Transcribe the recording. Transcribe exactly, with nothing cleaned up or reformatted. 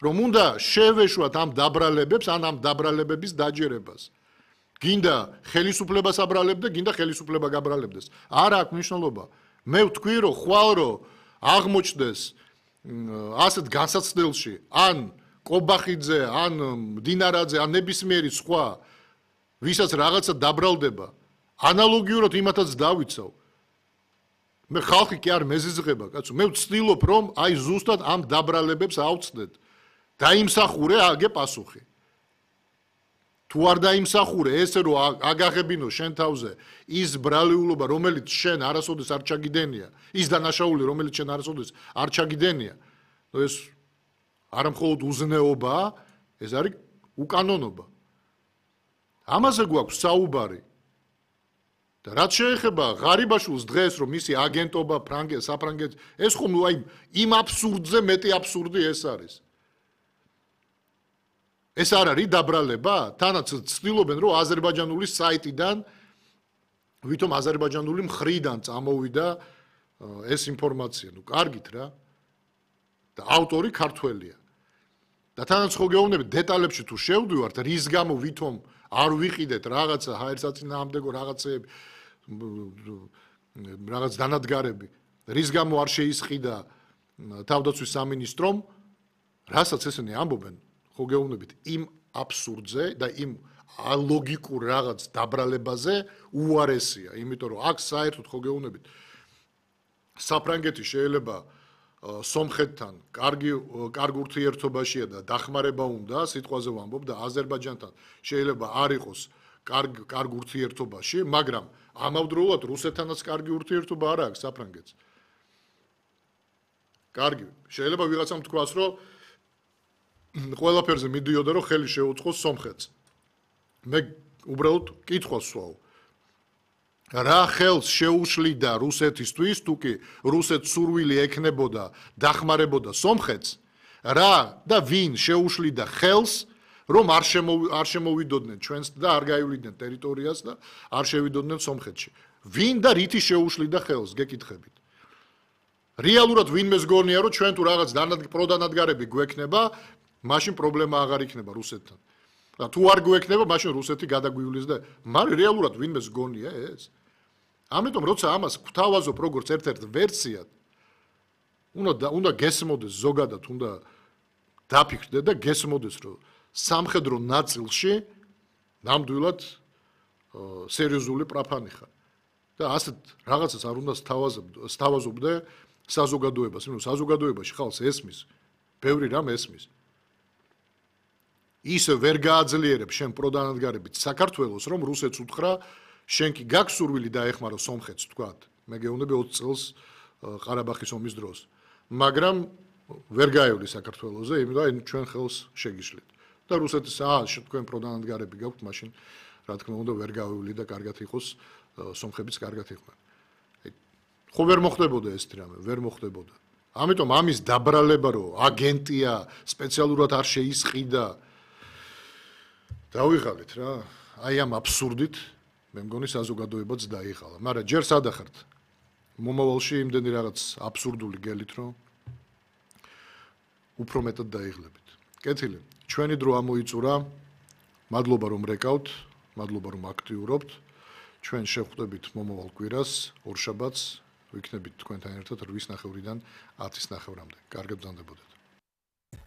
რომ უნდა შევეშვათ ამ დაბრალებებს, ან ამ დაბრალებების დაჯერებას. გინდა ხელისუფლებას აბრალებდა, გინდა ხელისუფლება გაბრალებდეს. არა აქვს მნიშვნელობა. მე ვთქვი, რომ ხვალ რომ აღმოჩნდეს ასეთ განსაცდელში, ან კობახიძე, ან მდინარაძე, ან ნებისმიერი სხვა, ვისაც რაღაცა დაბრალდება, ანალოგიურად იმათაც დავიცავ. მე ხალხი კი არ მეზიზღება, კაცო, მე ვცდილობ, რომ აი ზუსტად ამ დაბრალებებს ავწდეთ. დაიმსახურე აგე პასუხი. თუ არ დაიმსახურე, ესე რომ აგაღებინო შენ თავზე ის ბრალეულობა, რომელიც შენ არასოდეს არ ჩაგიდენია, ის დანაშაული, რომელიც შენ არასოდეს არ ჩაგიდენია, ეს არა მხოლოდ უზნეობაა, ეს არის უკანონობა. ამაზე გვაქვს საუბარი. და რაც შეეხება ღარიბაშვილს დღეს, რომ მისი აგენტობა ფრანგეთს, საფრანგეთს, ეს ხომ აი იმ აბსურდზე მეტი აბსურდი ეს არის. ეს არ არის დაბრალება? თანაც ცდილობენ, რომ აზერბაიჯანული საიტიდან, ვითომ აზერბაიჯანული მხრიდან წამოვიდა ეს ინფორმაცია. ნუ კარგით რა. და ავტორი ქართველია. და თანაც ხო გეუბნებით დეტალებში თუ შევდივართ, რის გამო ვითომ არ ვიყიდეთ რაღაცა ჰაერსაწინააღმდეგო რაღაცეები, რაღაც დანადგარები, რის გამო არ შეისყიდა თავდაცვის სამინისტრომ, რასაც ესენი ამბობენ, ხო გეუბნებით იმ აბსურდზე და იმ ალოგიკურ რაღაც დაბრალებაზე უარესია, იმიტომ რომ აქ საერთოდ ხო გეუბნებით საფრანგეთი შეიძლება სომხეთთან კარგი კარგ ურთიერთობაშია და დახმარება უნდა, სიტყვაზე ვამბობ და აზერბაიჯანთან შეიძლება არ იყოს კარგ კარგ ურთიერთობაში, მაგრამ ამავდროულად რუსეთთანაც კარგი ურთიერთობა არ აქვს საფრანგეთს. კარგი, შეიძლება ვიღაცამ თქვას, რომ ყველაფერზე მიდიოდა, რომ ხელი შეუწყოს სომხეთს. მე უბრალოდ კითხვას ვსვავ. რა ხელს შეუშლიდა რუსეთისთვის, თუ კი რუსეთს სურვილი ექნებოდა დახმარებოდა სომხეთს, რა და ვინ შეუშლიდა ხელს, რომ არ არ შემოვიდოდნენ ჩვენს და არ გაივლიდნენ ტერიტორიას და არ შევიდოდნენ სომხეთში. ვინ და რითი შეუშლიდა ხელს, გეკითხებით. რეალურად ვინმეს გონია, რომ ჩვენ თუ რაღაც პროდანადგარები გვექნება, მაშინ პრობლემა აღარ იქნება რუსეთთან. და თუ არ გვექნება, მაშინ რუსეთი გადაგვივლის და მაგრამ რეალურად ვინმეს გონია ეს? ამიტომ როცა ამას გვთავაზობ როგორც ერთ-ერთ ვერსიად, უნდა უნდა გესმოდეს ზოგადად, უნდა დაფიქრდე და გესმოდეს, რომ სამხედრო ნაწილში ნამდვილად სერიოზული პრაფანი ხარ. და ასეთ რაღაცას არ უნდა სთავაზობდე საზოგადოებას, იმიტომ რომ საზოგადოებაში ხალხს ესმის, ბევრი რამ ესმის. ისე ვერ გააძლიერებ შენ პროდანადგარებით საქართველოს, რომ რუსეთს უთხრა, შენ კი გაქვს სურვილი დაეხმარო სომხეთს, თქვათ. მე გეუბნები ოცი წელს ყარაბახის ომის დროს. მაგრამ ვერ გაევლი საქართველოზე, იმიტომ რომ ჩვენ ხელს შეგიშლით. და რუსეთის აა თქვენ პროდანადგარები გაქვთ, მაშინ რა თქმა უნდა ვერ გავევლი და კარგად იყოს სომხებიც კარგად იყვნენ. ხო ვერ მოხდებოდა ეს რამე, ვერ მოხდებოდა. ამიტომ ამის დაბრალება, რომ აგენტია სპეციალურად არ შეისყიდა დავიღალეთ რა, აი ამ აბსურდით მე მგონი საზოგადოებაც დაიღალა, მაგრამ ჯერ სადახართ მომავალში იმდენი რაღაც აბსურდული გელით, რომ უფრო მეტად დაიღლებით. კეთილი, ჩვენი დრო ამოიწურა, მადლობა რომ რეკავთ, მადლობა რომ აქტიურობთ, ჩვენ შევხვდებით მომავალ კვირას, ორშაბათს, ვიქნებით თქვენთან ერთად რვის ნახევრიდან ათის ნახევრამდე. კარგად ბრძანდებოდეთ.